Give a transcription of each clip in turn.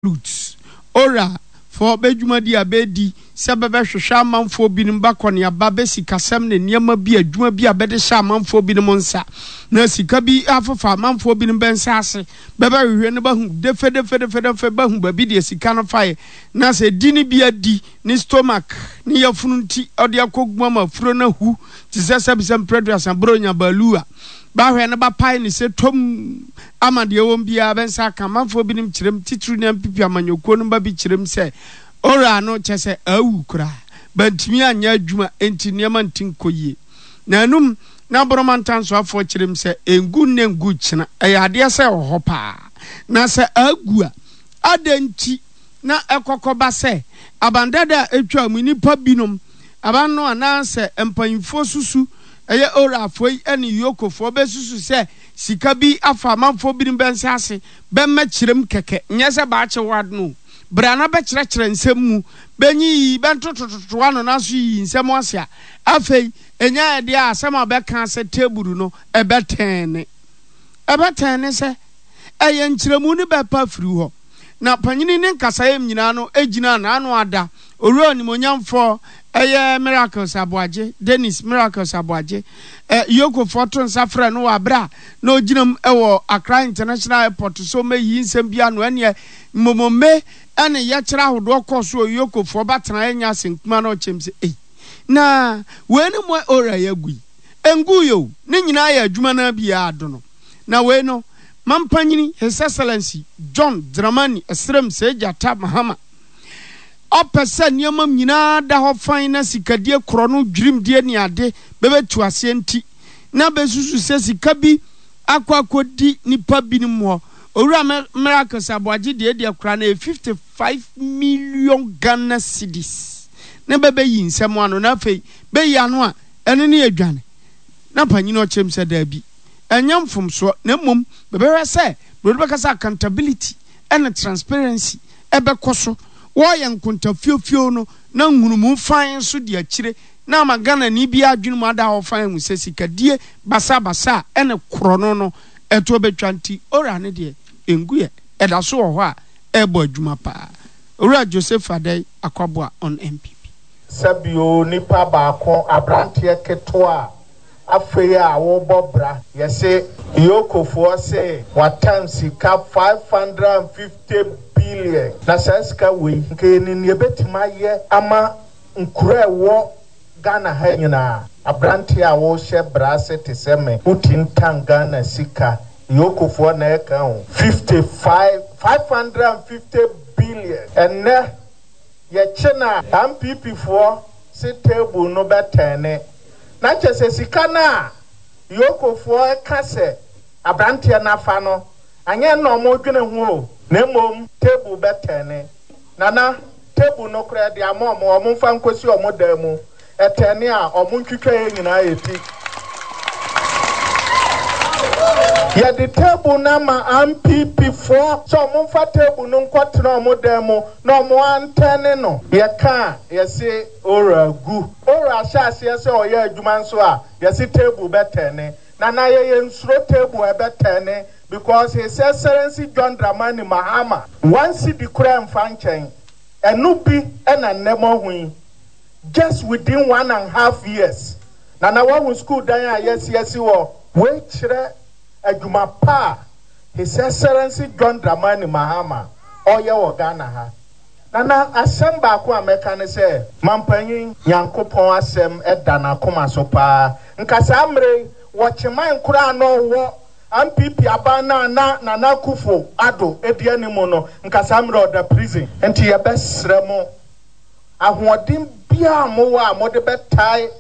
Lutz, Ora foɔ bɛ dwumadi a bɛɛdi sɛ bɛbɛhwehwɛ amanfoɔ binom b'akɔneaba bɛ sikasɛm ne nneɛma bi adwuma bi a bɛde hyɛ amanfoɔ binom nsa na sika bi afefa amanfoɔ binom bɛ nsa ase bɛbɛhwehwɛ no bɛhu defedefedefedefe bɛhu baabi deɛ sika no faeɛ na sɛ di ne bi adi ne stomach ne yafunu nti ɔde akɔgu ama afuro no ahu te sɛ sɛbisɛ mprɛduasa bronya baalu a Bɛahwɛ no bɛapae no sɛ tomm ama deɛ ɛwom biara bɛ nsa aka. Amanfoɔ binom kyerɛm, titiriw ne NPP amanyɔkuo no mma bi kyerɛm sɛ Ora no kyerɛ sɛ awu koraa. Bantumi anyɛ adwuma enti nneɛma nti nkɔ yie. Na anum na Boroma Ntansoafoɔ kyerɛm sɛ ɛngu nnɛ ngu kyena. Ɛyɛ adeɛ sɛ ɛwɔ hɔ paa. Na sɛ agu a, adɛn nti na ɛkɔkɔba sɛ aban dada a atwam yi nnipa binom, aban no anaasɛ mpanyimfoɔ susu Ɛyɛ Orafoɔ yi ne Yokofoɔ bɛsusu sɛ sika bi afa amanfoɔ binom bɛ nsa ase bɛmma kyerɛm kɛkɛ, nyɛ sɛ baakye wo adno o. Bra na bɛkyerɛkyerɛ nsɛm mu, bɛnyiyi, bɛntotototo ano nanso yiyi nsɛm ase a, afei ɛnya ɛdeɛ a asɛm a bɛka sɛ teburu no ɛbɛtɛne. Ɛbɛtɛne sɛ ɛyɛ nkyerɛmu no bɛpa afiri hɔ. Na panyini ne nkasaeɛm nyinaa no gyinaa n'ano ada Owura Onimuonyamfoɔ ɛyɛ Miracles Aboagye, Dennis Miracles Aboagye, ɛ, Yokofoɔ to nsa frɛɛ no wɔ aberɛ a na ɔgyina mu wɔ Accra International Airport so mmɛyiyi nsɛm bi ano. Ɛnneɛ mmomome ne yɛkyerɛ ahodoɔ kɔɔ so wɔ Yokofoɔ batenaeɛ nyɛ asɛnkuma na ɔkyɛm sɛ, Ei, na wei ne mo owura yi agu yi? Ɛnguiɛ o, ne nyinaa yɛ adwuma no ara bi a adono. Na wei no, Mampanyini His Excellency John Dramani Ɛsrem Sɛ-Gyata Mahama, Ɔpɛ sɛ nneɛma nyinaa da hɔ fann na sikadie korɔno, dwirimdie ne ade bɛbɛtu aseɛ nti, na bɛsusu sɛ sika bi akɔ akɔdi nnipa binom hɔ. Owura Miracles Aboagye deɛ deɛ koraa no ɛyɛ 55 million Ghana cedis na bɛbɛyi nsɛm ano na afei bɛyi ano a ɛno ne adwane. Na panyini ɔkyerɛm sɛ daabi, ɛnyɛ mfomsoɔ na mmom bɛbɛhwɛ sɛ broni bɛka sɛ accountability ne transparency ɛbɛkɔ so. Wɔreyɛ nkontafiofio no na nhunumu fann nso di akyire na ama Ghanani biara adwene mu ada hɔ fann ahu sɛ sikadie basabasa a ɛne korɔno no ɛtoɔ bɛtwa nti ora no deɛ ɛnguiɛ, ɛda so wɔ hɔ a ɛrebɔ adwuma paa. Owura Joseph Adai Akwaboah on NPP. Sɛbio nipa baako abranteɛ ketewa a Afei a wobɔ bra. Yɛse Yokofoɔ se watam sika 550 billion. Na saa sika wei nka yɛnim nea ɛbɛtumi ayɛ ama nkuro a ɛwɔ Ghana ha nyinaa. Abranteɛ a wohyɛ bra ase te sɛ me, wotintan Ghana sika, Yokofoɔ na ɛka o, 55, 550 billion. Ɛnnɛ yɛkye no a, NPP foɔ se table no bɛtɛne. Na kyerɛ sɛ sika no a Yokofoɔ ka sɛ abranteɛ no afa no, anyɛ ɛno na wɔredwene ho o, na mmom table bɛtɛne. Nana, table no koraa yɛde ama wɔn, wɔmfa nkɔsi wɔn dan mu, ɛtɛne a, wɔntwitwa yɛn nyinaa yɛn ti. Yɛde table no ama NPP foɔ sɛ wɔmfa table no nkɔtena wɔn dan mu na wɔantɛne no. Yɛka a, yɛse Ora gu. Ora hyɛ aseɛ sɛ ɔyɛ adwuma nso a, yɛse table bɛtɛne. Nana yɛ yɛnsuro table a ɛbɛtɛne because His Excellency John Dramani Mahama one cedi koraa mfa nkyɛn. Ɛno bi na nnɛ moahu yi. Just within one and half years. Nana woahu school dan a yɛasi asi hɔ? Wei kyerɛ adwuma pa a His Excellency John Dramani Mahama ɔreyɛ wɔ Ghana ha. Nana, asɛm baako a mɛka ne sɛ, Mampanyin, Nyankopɔn asɛm da n'akoma so paa. Nka saa mmerɛ yi, wɔ Kyeman koraa a na ɔwɔ NPP aban no a na Nana Akufo Addo di anim no, nka saa mmerɛ yi ɔda prison. Nti yɛbɛsrɛ mo, ahoɔden biara a mowɔ a mode bɛtae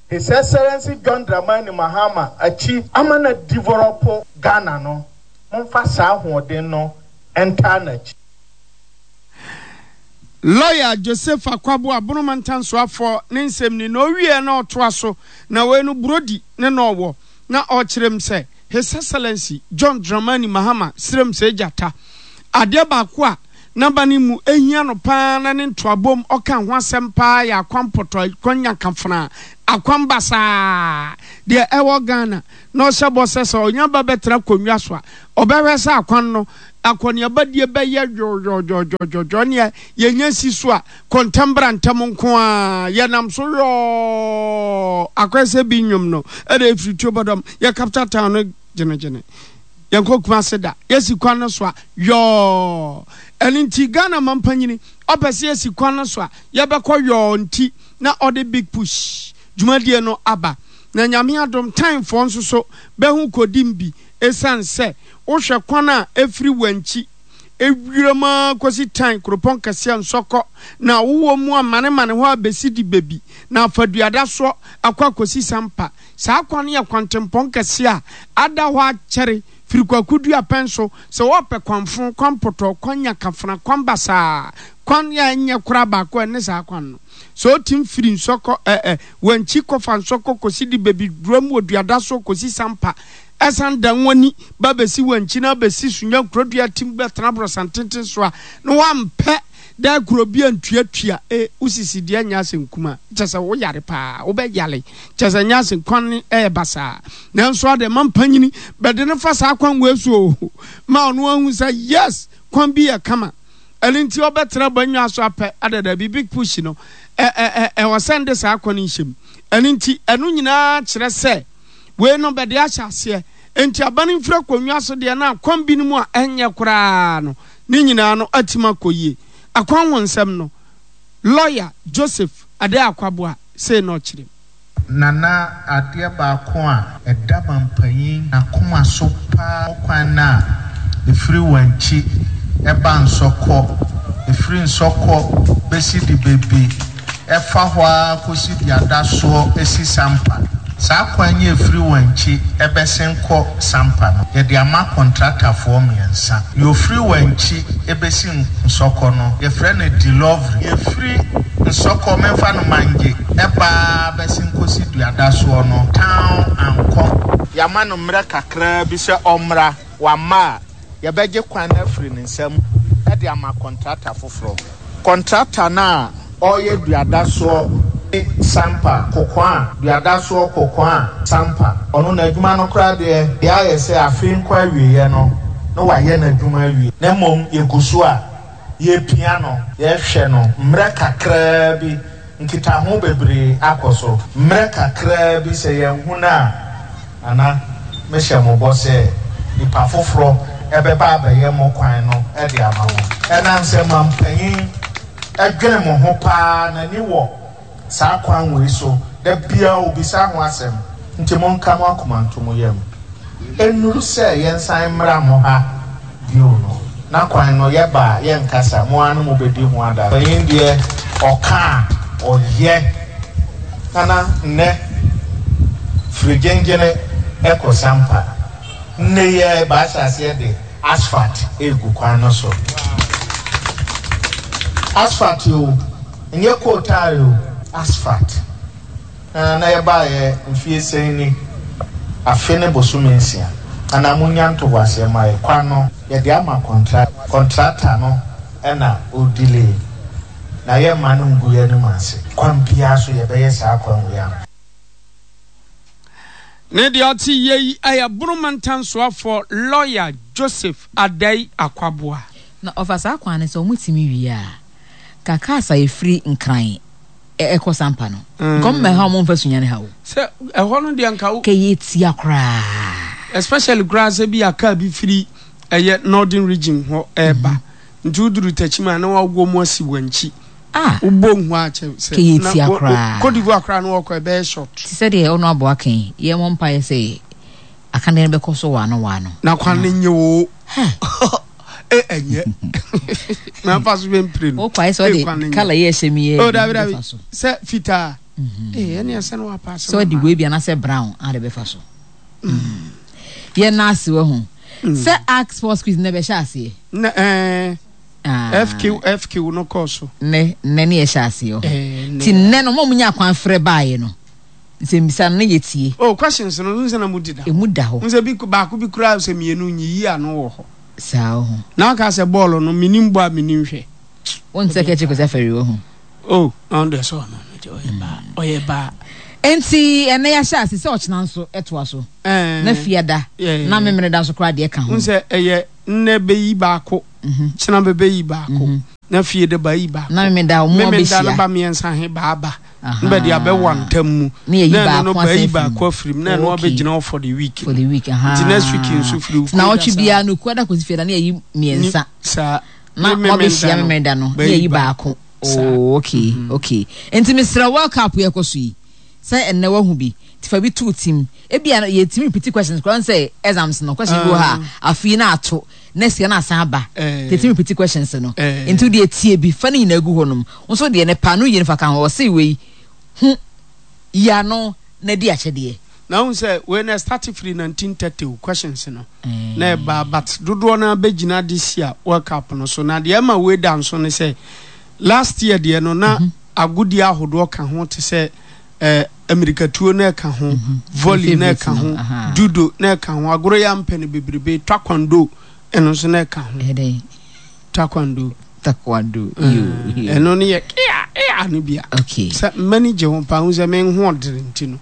His Excellency John Dramani Mahama akyi ama no adevelop Ghana no, momfa saa ahoɔden no ntaa n'akyi. Lɔya Joseph Akwaboah Abonoman Ntansoafoɔ ne nsɛm ni na ɔwieɛ na ɔtoa so na wei no Brody ne na ɔwɔ na ɔkyerɛ mu sɛ His Excellency John Dramani Mahama srem sɛ gyata. Adeɛ baako a. N'aba no mu hia no paa na ne ntoabom ɔka ho asɛm paa yɛ akwan pɔtɔ, akwan nyankafena, akwan basaa deɛ ɛwɔ Ghana na ɔhyɛ bɔ sɛ sɛ ɔnya ba bɛtena akonnwa so a ɔbɛhwɛ sɛ akwan no akɔneabadie bɛyɛ dwɔdwɔdwɔdwɔdwɔ neɛ yɛnya si so a kɔ ntɛm bra ntɛm nko ara yɛnam so yɔɔ akɔyɛ sɛ bi nnwom no ɛna ɛfiri tuo bɔdɔm yɛ capital town no gyenegyene. Yɛnkɔ Kumase da, yɛsi kwan no so a, yɔɔ. Ɛno nti Ghana mampanyini ɔpɛ sɛ yɛsi kwan no so a, yɛbɛkɔ yɔɔ nti na ɔde Big Push dwumadie no aba. Na Nyame adom Time foɔ nso so bɛho kɔdim bi ɛsiane sɛ wohwɛ kwan a ɛfiri Wankyi wiram ara kɔsi Time kuropɔn kɛseɛ Nsɔkɔ na wowɔ mu amanemane hɔ a bɛsi Dibebi na afa Duadasoɔ akɔ akɔsi Sampa. Saa kwan no yɛ kwantempɔn kɛse a ada hɔ akyɛre firi Kwaku Duapɛn so. Sɛ wɔrepɛ kwanfo, kwanpɔtɔ, kwan nyakafena, kwan basaa, kwan a ɛnyɛ koraa baako a ɛne saa kwan no. Sɛ wotim firi Nsɔkɔ ɛ ɛ Wankyi kɔfa Nsɔkɔ kɔsi Dibebi Duram wɔ Duadasoɔ kɔsi Sampa ɛsan dan w'ani ba bɛsi Wankyi na abɛsi Sunya Nkurodua tim bɛtena Aborɔsantenten so a na woampɛ Da koro bi antuatua e wo sisi deɛ nyɛ asɛm kuma kyɛ sɛ wo yare paa wo bɛ yale kyɛ sɛ nyɛ asɛm kwan no ɛyɛ basaa nanso adɛ ma mpanyini bɛde no fa saa kwan wei so o ma ɔno ahu sɛ yes kwan bi yɛ kama ɛno nti ɔbɛtena bannwa so apɛ adɛ dabi big push no ɛ ɛ ɛ ɛwɔ sɛ nde saa kwan no nhyɛ mu ɛno nti ɛno nyinaa kyerɛ sɛ wei no bɛde ahyɛ aseɛ nti aba no mfiri akonnwa so deɛ na kwan binom a ɛnyɛ koraa no Ne nyinaa no atim akɔ yie. Akwan ho nsɛm no, Lɔya Joseph Adei Akwaboah sei na ɔkyerɛ mu. Nana adeɛ baako a ɛda mampanyin n'akoma so paa kwan no a ɛfiri Wankyi ba Nsɔkɔ, ɛfiri Nsɔkɔ bɛsi Dibebe, ɛfa hɔ ara kɔsi Duadasoɔ si Sampa. Saa kwan yi a ɛfiri Wankyi bɛsen kɔ Sampa no, yɛde ama kɔntratafoɔ mmiɛnsa. Deɛ ɔfiri Wankyi bɛsi Nsɔkɔ no, yɛfrɛ no Delovry. Deɛ ɛfiri Nsɔkɔ, memfa no Mangye, ba ara bɛsen kɔsi Duadasoɔ no, Town and Com. Yɛama no mmerɛ kakra bi sɛ ɔmmra, wamma a, yɛbɛgye kwan no afiri ne nsam de ama kɔntrata foforɔ. Kɔntrata no a ɔreyɛ duadasoɔ ne Sampa, Kokoa, duadasoɔ Kokoa, Sampa, ɔno n'adwuma no koraa deɛ, deɛ ayɛ sɛ afe nkɔ awieɛ no na wayɛ n'adwuma awie, na mmom yɛgu so a yɛrepia no, yɛrehwɛ no mmerɛ kakraa bi, nkitaho bebree akɔ so, mmerɛ kakraa bi sɛ yɛanhu no a, Nana, mehyɛ mo bɔ sɛ nipa foforɔ bɛba abɛyɛ mo kwan no de ama mo. Ɛnam sɛ mampanyin dwene mo ho pa ara, n'ani wɔ saa kwan wei so, da biara ɔbisa ho asɛm, nti monka mo akoma nto mo yam. Ɛnnuru sɛ yɛnsan mmra mo ha bio no, na kwan no yɛba a yɛnkasa, mo ara ne mobɛdi ho adanseɛ. Panyin deɛ ɔka a, ɔyɛ. Nana nnɛ firi gyengyene kɔ Sampa. Nnɛ yi ara bɛahyɛ aseɛ de asphalt regu kwan no so. Asphalt o, ɛnyɛ coal tar o, asphalt. Na na yɛbaeɛ mfie sɛn ni? Afe ne bosome nsia. Anaa monnya ntoboaseɛ mma yɛ. Kwan no, yɛde ama kɔntra, kɔntrata no na ɔredelay. Na yɛmma no ngu yɛn anim ase. Kwan biara so yɛbɛyɛ saa kwan wei ama. Ne deɛ ɔte yie yi yɛ Bono Mantam Soafoɔ Lɔya Joseph Adai Akwaboah. Na ɔfa saa kwan no sɛ wɔn tumi wie a, ka cars a ɛfiri Nkran ɛkɔ Sampa no, nka wɔn mmɛha wɔn mfa Sunyani ha o. Sɛ ɛhɔ no deɛ nka wo. Kɛyɛ tia koraa. Especially koraa sɛ bi a car bi firi ɛyɛ Northern region hɔ ɛɛba. Nti woduru Techiman a na wɔawoɔ mu asi wɔn akyi. Ah! Wobɔ nhu a kyɛ sɛ Kɛyɛ na tia wo- wo- koraa. Cote d'Ivoire koraa na wɔkɔ ɛbɛyɛ short. Te sɛ deɛ ɔno aboa ka yi, yɛmmɔ mpaeɛ sɛ akadeɛ no bɛkɔ so waano waano. Na kwan no nye oo. Hɛ! E ɛnyɛ. Na fa so bɛmpire no. Wokɔ ayɛ sɛ E kwan no ɔde nyɛ. kala yi a ɛhyɛ me yi Oh bi dabi dabi. bɛfa so. Sɛ fitaa. E ɛne ɛsɛ no wapaase Sɛ ma ɔde ma. wei bi anaasɛ brown a de bɛfa so. Yɛn nan ase wahu. Sɛ Ark Sports Quiz nnɛ bɛhyɛ aseɛ. Nnɛ ɛɛ Ah. FQ FQ no kɔɔ so. Nnɛ nnɛ ne yɛhyɛ aseɛ ɔho. Ɛɛ nnɛ. Ti nnɛ no mo a mo nya kwan frɛ baeɛ no nsɛmbisa no ne yɛ tie. Oh questions no n sɛ na mu deda hɔ. Emu da hɔ. N sɛ bi baako bi koraa sɛ mmienu nyiyi ano wɔ hɔ. Saa oho. Na aka sɛ bɔɔlo no menim bɔ a menim hwɛ. Wonte sɛ kɛkyɛ Kwesi Afari wɔ ho. Oh, na ɔno deɛ sɛ ɔno no deɛ ɔyɛ baa, ɔyɛ baa. Enti ɛnɛ yɛahyɛ ase sɛ ɔkyena nso ɛtoa so. Na fiada, na memeneda nso koraa deɛ ka ho. Wohu sɛ ɛyɛ nnɛ bɛyi baako, kyena bɛbɛyi baako, na fie de ba yi baako. Na memeda wɔn abɛhyia. Memeda no ba mmiɛnsa he ba aba. Na bɛde abɛwa ntam mu. Na yɛyi Na ɛno no baako bɛyi asan afiri mu. baako afiri mu. Na ɛno abɛgyina hɔ for the week. For the week, ahaa. Nti next week nso firi Nti Wukuada naawɔtwe saa. biara no, Wukuada kɔsi fiada na yɛyi Ni mmiɛnsa. saa. Na Ne wɔabɛhyia Memenda no Memenda no, na bɛyi yɛyi baako. baako. Saa. Oh, okay, okay. Nti mesrɛ World Cup yi ɛkɔ so yi, sɛ ɛnnɛ woahu bi, nti fa bi to wo tim. Ebia no yɛtumi repeat questions koraa, wohu sɛ exams no, question bi wɔ hɔ a, afe yi na ato, next year na asan aba. Nti yɛtumi repeat questions no. Nti wo deɛ tie bi, fa ne nyinaa gu hɔnom. Wo nso deɛ ne pa no yie no fa ka ho. Ɔse wei, hu, yi ano na di akyɛdeɛ. Na wohu sɛ wei no ɛstarte firi 1930 o, questions no na ɛba but dodoɔ no ara bɛgyina this year World Cup no so. Na deɛ ɛma wei da nso ne sɛ last year deɛ no na agodie ahodoɔ ka ho te sɛ eh, amirikatuo na ɛka ho, volley na ɛka ho, judo na ɛka ho, agorɔ yi a mpɛ no bebrebe, taekwondo ɛno nso na ɛka ho. Taekwondo. Taekwondo. Ɛno no yɛ ea ea no bia. Okay. Sɛ m'ani gye ho paa, hu sɛ me ho ɔdere nti no.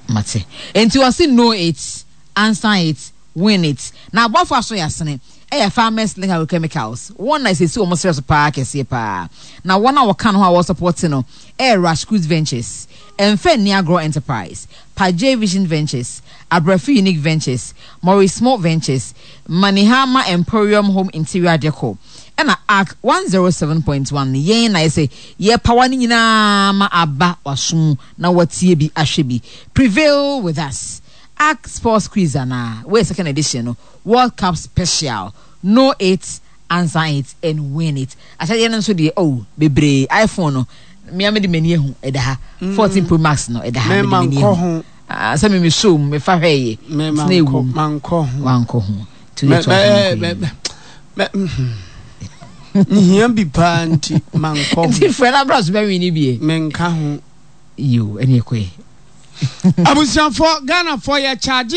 Mate. Nti wɔse know it, answer it, win it. Na abɔfo aso yɛ asene. Ɛyɛ Farmers Link Agrochemicals. Wɔn na ɛsɛsi wɔn serɛ so paa kɛseɛ paa. Na wɔn a wɔka no ho a wɔsupporte no ɛyɛ Rashcruz Ventures, Ɛmfa Nni Agorɔ Enterprise, Pajay Vision Ventures, Abrafi Unique Ventures, Maurice Mo Ventures, Manihama Emporium Home Interior Decor, ɛna Arc 107.1. Yɛn na yɛsɛ yɛpawa no nyinaa ma aba w'aso mu na watie bi ahwɛ bi. Prevail with us. Arc Sports Quiz anaa? Wei yɛ second edition no, World Cup Special. Know it, answer it and win it. Ahyɛdeɛ no nso deɛ oh, bebree. iPhone no, me ara mede m'ani ahu, ɛda ha. 14 Pro Max no, ɛda ha, mede m'ani ahu. Ah, sɛ me me show mu, mefa hwɛeɛ. Me Nti na mankɔ, ɛwɔ mu. mankɔ ho. Wankɔ ho. Nti Mɛ wode to aso mɛ nkɔ mɛ yi. mɛ mehia bi paa nti mankɔ ho. Nti frɛ no abra so bɛwe ne bie. Menka ho. Yo, ɛne ɛkɔɛ. Abusuafoɔ, Ghanafoɔ yɛ charge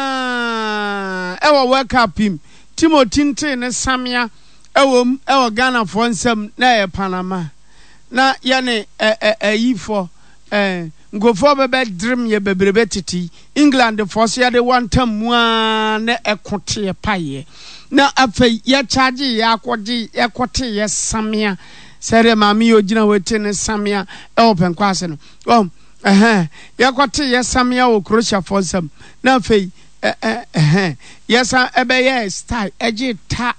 yaa ɛwɔ World Cup yi mu. Timothy Ntee ne Samia ɛwɔ mu ɛwɔ Ghanafoɔ nsam na ɛyɛ Panama. Na yɛne ɛ ɛ ɛyifoɔ ɛ nkurɔfoɔ bɛbɛ dream yɛ bebrebe tete yi. England foɔ so yɛde wantam mu aa na ɛko teɛ paeɛ. Na afei yɛ charge yɛ akɔgye yɛkɔte yɛ Samia sɛdeɛ maame yi ogyina hɔ te ne Samia ɛwɔ pɛnkɔ ase no. Wɔn ɛhɛn yɛkɔte yɛ Samia wɔ Croatia foɔ nsam. Na afei ɛ ɛ ɛhɛn yɛsan ɛbɛyɛɛ style ɛgye ta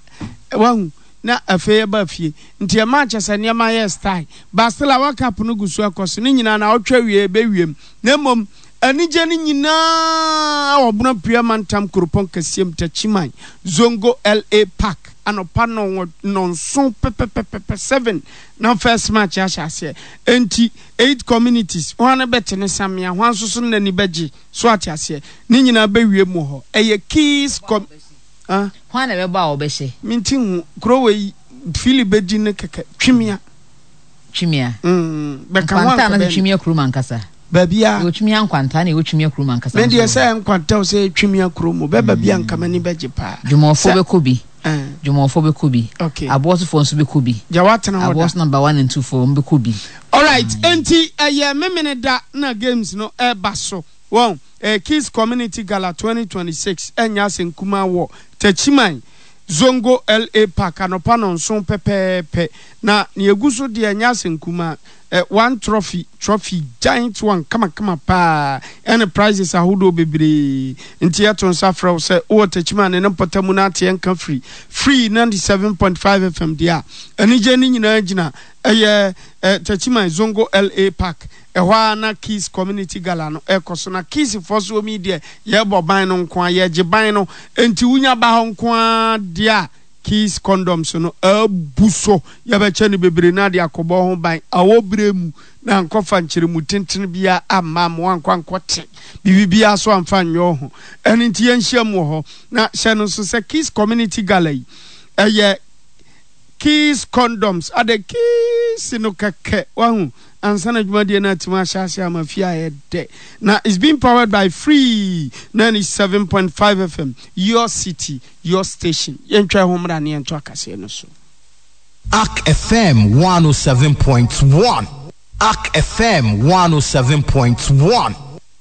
wahu na afei ɛba fie nti ɛmaa kyɛ sɛ nneɛma yɛɛ style but still a World Cup no gu so ɛkɔ so ne nyinaa na ɔtwa wie ɛbɛwiem na mmom anigye no nyinaa wɔ Bono Apue Amantam kuropɔn kɛseɛ mu Techiman Zongo LA Park anɔpa nnɔnson pɛpɛpɛpɛ 7 na first match ahyɛ aseɛ enti eight communities hwan bɛte ne samea hwan nso so n'ani bɛgye. So ate aseɛ? Ne nyinaa bɛwie mu hɔ. Ɛyɛ keys kɔ ah. Hwan na ɛbɛbɔ a wɔbɛhyɛ? Mente hu. Kuro wei Philly bɛdi no kɛkɛ. Twimia. Twimia. Mm, bɛka ho Nkwanta anka anaasɛ bɛn. Twimia kurom ankasa? Baabiara. Yɛwɔ Twimia Nkwanta na yɛwɔ Twimia kurom ankasa Me nso deɛ wɔ sɛ hɔ. Nkwanta o sɛ Twimia kurom o, bɛba bi a nka m'ani bɛgye paa. Dwumɔfoɔ Sɛ bɛkɔ bi. eh. Dwumɔfoɔ bɛkɔ bi. Okay. Aboɔsofoɔ nso bɛkɔ bi. Gya woatena hɔ da. Aboɔso number one and two foɔ wɔn bɛkɔ bi. Alright, enti ɛyɛ Memeneda na games no ɛreba so. Wɔn, ɛyɛ Kids Community Gala 2026, ɛnyɛ asɛm kumaa wɔ Techiman, Zongo LA Park anɔpa nnɔnson pɛpɛɛpɛ. Na nea egu so deɛ ɛnyɛ asɛm kumaa, ɛ, one trophy, trophy, giant one kamakama paa, ɛne prizes ahodoɔ bebree. Nti yɛto nsa frɛ wo sɛ wowɔ Techiman ne ne mpɔtam na ateɛ nka firi Free 97.5 FM deɛ a, anigyeɛ no nyinaa gyina ɛyɛ, ɛ, Techiman Zongo LA Park. Ɛhɔ ara na Keys Community Gala no rekɔ so. Na Keysfoɔ so wɔn yi deɛ, yɛrebɔ ban no nko ara, yɛregye ban no. Enti wonya ba hɔ nko ara deɛ a, Keys condoms no abu so. Yɛbɛkyɛ no bebree na ade akɔbɔ ho ban awɔ berɛ mu na ankɔfa nkyerɛmu tentene biara amma ama woankɔ ankɔte biribi biara so amfa anyɛ wo ho. Ɛno nti yɛnhyiam wɔ hɔ. Na hyɛ no nso sɛ Keys Community Gala yi, ɛyɛ Keys condoms, adɛ Keys no kɛkɛ, wahu. ansa na dwumadie no atumi ahyɛ ase ama fie ayɛ dɛ. Na it's being powered by Free 97.5 FM, your city, your station. Yɛntwa ɛho mmra ne yɛnto akaseɛ no so. Ark FM 107.1 Ark FM 107.1.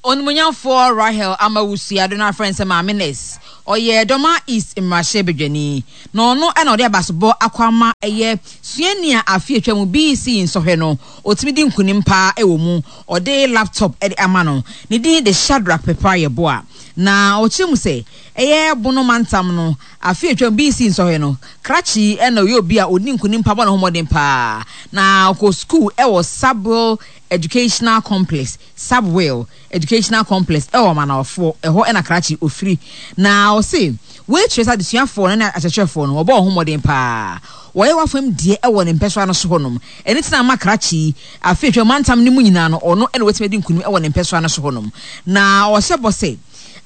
Onimuonyamfoɔ Rahel Amawusu Addo no afrɛ no sɛ Maame Nurse. Ɔyɛ Dormaa East mmarahyɛ badwani, na ɔno na ɔde abasobɔ akɔ ama ɛyɛ suani a afe atwa mu BEC nsɔhwɛ no ɔtumi di nkunim paa wɔ mu. Ɔde laptop de ama no. Ne din de Shadrack Pepra Yeboah. Na ɔkyerɛ mu sɛ ɛyɛ Bono mantam no afe atwa mu BEC nsɔhwɛ no krakye na ɔyɛ obi a ɔdi nkunim paa bɔ ne ho mmɔden paa. Na ɔkɔ sukuu wɔ Sabwell Educational Complex. Sabwell Educational Complex wɔ Manawafoɔ, ɛhɔ na Krakye ɔfiri. Na ɔse wei kyerɛ sɛ adesuafoɔ no ne akyerɛkyerɛfoɔ no wɔbɔ wɔn ho mmɔden pa ara. Wɔyɛ w'afam deɛ wɔ ne mpɛsoa no so hɔnom. Ɛno nti na ama Krakye yi, afe atwam mantam no mu nyinaa no, ɔno na watumi adi nkunim wɔ ne mpɛsoa no so hɔnom. Na ɔhyɛ bɔ sɛ,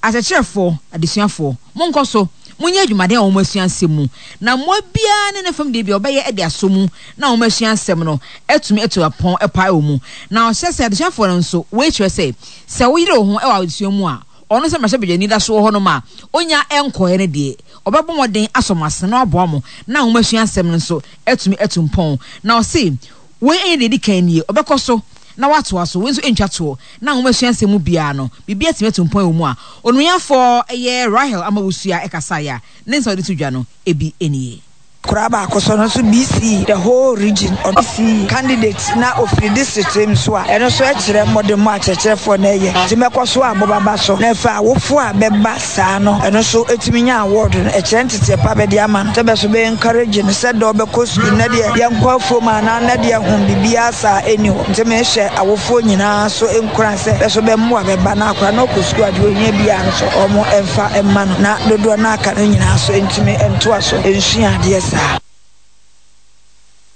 Akyerɛkyerɛfoɔ, adesuafoɔ, monkɔ so monyɛ adwumaden wɔ nwomasua nsɛm mu, na mmoa biara ne ne fam deɛ biara wɔbɛyɛ de asɔ mu na nwomasua nsɛm no atumi atu apɔn pa wɔ mu. Na ɔhyɛ sɛ adesuafoɔ no nso, wei kyerɛ sɛ, sɛ woyere wo ho wɔ adesua mu a, ɔno sɛ mmarahyɛbadwani da so wɔ hɔnom a ɔnnya nkɔeɛ no deɛ, ɔbɛbɔ mmɔden asɔ mo asene na waboa mo na nwomasua nsɛm no nso atumi atu mpɔn. Na ɔse wei nyɛ deɛ ɛdi kan nie, ɔbɛkɔ so na watoa so, wei nso ntwa toɔ, na nwomasua nsɛm mu biara no, biribi atumi atu mpɔn wɔ mu a, Onuafoɔ yɛ Rahel Amawusua kasaeɛ a, ne nsɛm a ɔde to dwa no, ebi nie. Koraa baako so no nso BC the whole region ɔno BC candidate na ofiri district mu nso a ɛno nso ɛkyerɛ mmɔdemmɔ a kyerɛkyerɛfoɔ no ɛyɛ nti mɛkɔ so a mobaba so na ɛfa awofoɔ a bɛba saa no ɛno nso ɛtumi nya award no ɛkyerɛ nteteɛ pa bɛde ama no sɛ bɛ so bɛ encourage no sɛ dɛ ɔbɛkɔ sukuu nnɛ deɛ yɛnkɔ afuom anaa nnɛ deɛ ho biribiara saa ɛnni hɔ nti mehyɛ awofoɔ nyinaa so nkuran sɛ bɛ so bɛmmoa bɛba na akora no ɔkɔ sukuu a deɛ ɔhia biara no so wɔn mfa mma no na dodoɔ no aka no nyinaa so ntumi ntoa so nsua adeɛ saa.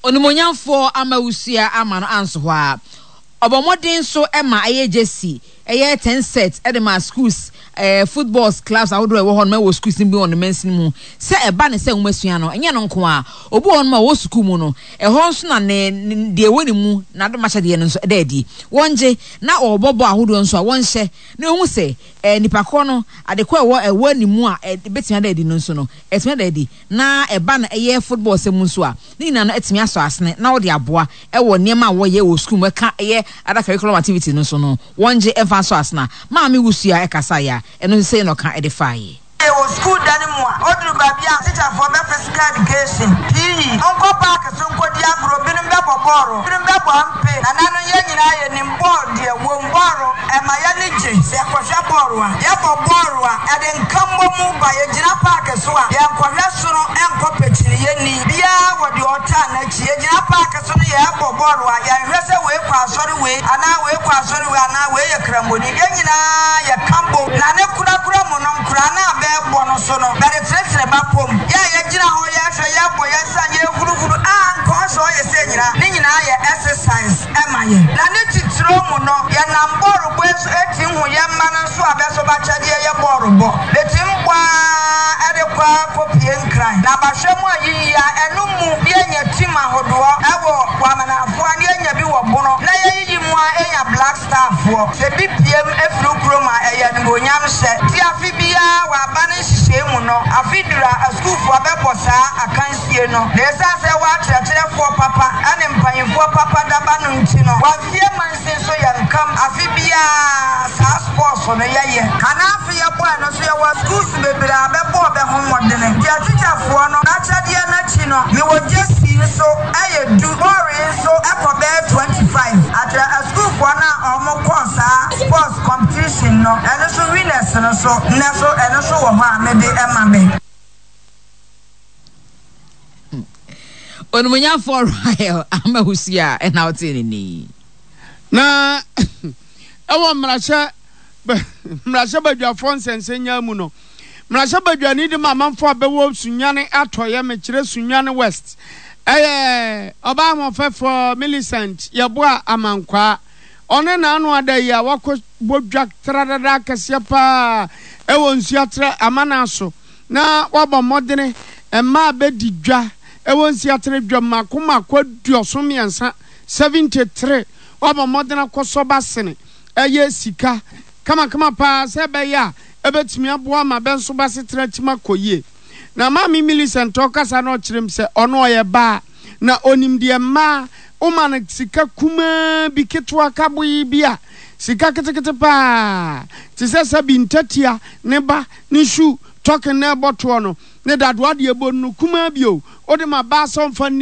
Onimuonyamfoɔ Amawusua ama no anso hɔ ara. Ɔbɔ mmɔden nso ma ɛyɛ jersey, ɛyɛ ten set de ma schools, footballs clubs ahodoɔ a ɛwɔ hɔnom wɔ schools no bi wɔ ne mansini mu. Sɛ ɛba ne sɛ nwomasua no, ɛnyɛ ɛno nko ara. Obi wɔ hɔnom a ɔwɔ sukuu mu no, ɛhɔ nso na ne deɛ ɛwɔ ne mu, n'adomakyɛdeɛ no nso da adi. Wɔngye, na wɔbɔ bɔɔl ahodoɔ nso a, wɔnhyɛ na wɔhu sɛ nipa korɔ no, ade korɔ a ɛwɔ ɛwɔ ne mu a ɛbɛtumi ada adi no nso no, ɛtumi ada adi. Na ɛba no ɛyɛ football sɛm mu nso a, ne nyinaa no atumi asɔ asene na wɔde aboa wɔ nneɛma a wɔyɛ wɔ sukuu mu ɛka ɛyɛ other curriculum activities no nso no, wɔngye mfa nsɔ asene a Maame Wusu a ɛkasaeɛ a, ɛno nso sei na ɔka de faeɛ. Yɛwɔ sukuu dan mu a, oduru baabi a tikyafoɔ bɛ physical education, PE, monkɔ park so nkɔdi agorɔ, binom bɛbɔ bɔɔlo, binom bɛbɔ ampe, nananom yɛn nyinaa yɛnim bɔɔl deɛ wom, bɔɔlo ɛma yɛani gye sɛ yɛkɔhwɛ bɔɔlo a, yɛbɔ bɔɔlo a ɛde nkabɔmu ba, yɛgyina park so a yɛnkɔhwɛ soro nkɔ pɛkyini, yɛnni biara wɔ deɛ ɔtaa n'akyi, yɛgyina park so no yɛbɔ bɔɔlo a yɛnhwɛ sɛ wei kɔ asɔre wei anaa wei kɔ asɔre wei anaa wei yɛ kramoni, yɛn nyinaa yɛka bom, na ne korakora mu no nkoraa no a bɛɛbɔ no so no bɛretenetene bapɔ mu, yɛ a yɛgyina hɔ yɛhwɛ yɛbɔ yɛn nsa yɛhuruhuru a anka ɔsɛ ɔyɛ sɛ nyinaa, ne nyinaa yɛ exercise ma yɛn. Na ne titiriw mu no yɛnam bɔɔlobɔ yi so tim hu yɛn mma no nso a bɛso b'akyɛdeɛ yɛ bɔɔlobɔ. Betim bɔ ara de kɔ ara kɔpue Nkran. Na bahwɛ mu a yiyi a ɛno mu ne yɛnya tim ahodoɔ wɔ Wamanafoɔ a ne yɛnya bi wɔ Bono na yɛyiyi mu a enya Black Star foɔ. Sɛ bi piem firi wo kurom a ɛyɛ animuonyam hyɛ. Nti afe biara wɔ aba no nhyehyɛe mu no afe duru a asukuufoɔ bɛbɔ saa akansie no. Na esiane sɛ ɛwɔ akyerɛkyerɛfoɔ papa ne mpanyinfoɔ papa daba no nti no wɔ Mansin so yɛ nkam afe biara saa sports no yɛyɛ. Ana afe yɛbɔɛ no nso yɛwɔ schools bebree a bɛbɔɔ bɛ ho mmɔdene. Deɛ tikyafoɔ no n'akyɛdeɛ no akyi no mewɔ gyesi nso ɛyɛ du, bɔɔl yi nso ɛkɔ bɛyɛ 25. Akyerɛ asukuufoɔ no a wɔn kɔɔ saa sports competition no ɛno nso winners no so nnɛ so ɛno nso wɔ hɔ a mede ɛma bɛ. Onimuonyamfoɔ Rahel Amahusi a ɛna wotee ne nne yi. Na ɛwɔ mmarahyɛ mmarahyɛbadwafoɔ nsɛnsɛnyaa mu no, mmarahyɛbadwani de ma amanfoɔ a bɛwɔ Sunyani Atɔeɛ, mekyerɛ Sunyani West, ɛyɛ ɔbaa ahoɔfɛfoɔ Millicent Yeboah Amankwaa. Ɔne n'ano ada yi a wakɔ bɔ dwa tradada kɛseɛ paa ɛwɔ Nsuaterɛ Amana so. Na wabɔ mmɔdene mmaa bɛdi dwa wɔ nsiatere dwam mmaako mmaako aduɔson mmiɛnsa, 73. Wabɔ mmɔden akɔsɔ ba sene ɛyɛ sika kamakama paa sɛ ɛbɛyɛ a ɛbɛtumi aboa ama bɛ nso b'asetena atim akɔ yie. Na Maame Millicent ɔkasa na ɔkyerɛ mu sɛ ɔno ɔyɛ baa na ɔnim deɛ mmaa woma no sika kumaa bi ketewa kaboyi bi a sika ketekete paa te sɛ sɛbi ntatia ne ba ne shoe tɔken na ɛbɔ toɔ no ne dadoa deɛ ɛbɔ no kumaa bi o wode ma baa sɛ ɔmfa nni.